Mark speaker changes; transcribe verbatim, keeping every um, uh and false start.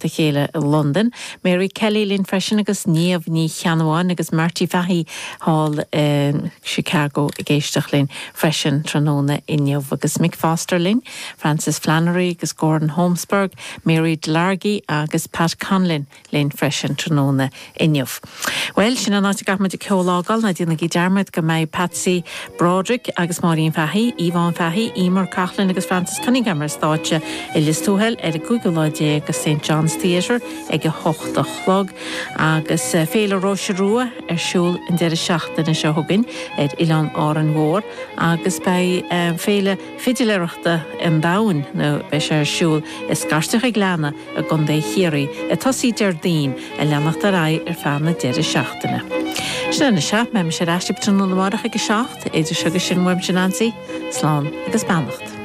Speaker 1: a chéile i Londain. Mary Kelly linn freisin agus Niamh Ní Cheannabháin agus Marty Fahey thall in Chicago ag éisteacht linn freisin tráthnóna inniu agus Mick Foster linn, Francis Flannery agus Gordon Holmesburg, Mary Delargy agus Pat Conlin linn freisin tráthnóna inniu. Well sin an áit a gcaithfimid an ceol a fhágáil ná déanaigí dearmad go mbeidh Patsy Broderick agus Máirín Fahey, Yvonne Fahey, Emer Coughlin agus Francis Cunningham ar stáitse i Lios Tuathail ar an gcúigiú lá déag go St John's Theatre ag a hocht a chlog agus eh, Féile Róise Rua ar siúl an deireadh seachtaine seo chugainn ar Oileán Árainn Mhór agus beidh eh, féile fidiléireachta an domhain nó beidh sé ar siúl i Scairteach an Ghleanna i gContae Chiarraí ag tosú Déardaoin ag leanacht ar aghaidh ar feadh na deireadh seachtaine. Sin é beidh mise ar ais tráthnóna amárach ag a seacht idir seo agus sin uaimse Nancy, slán agus beannacht.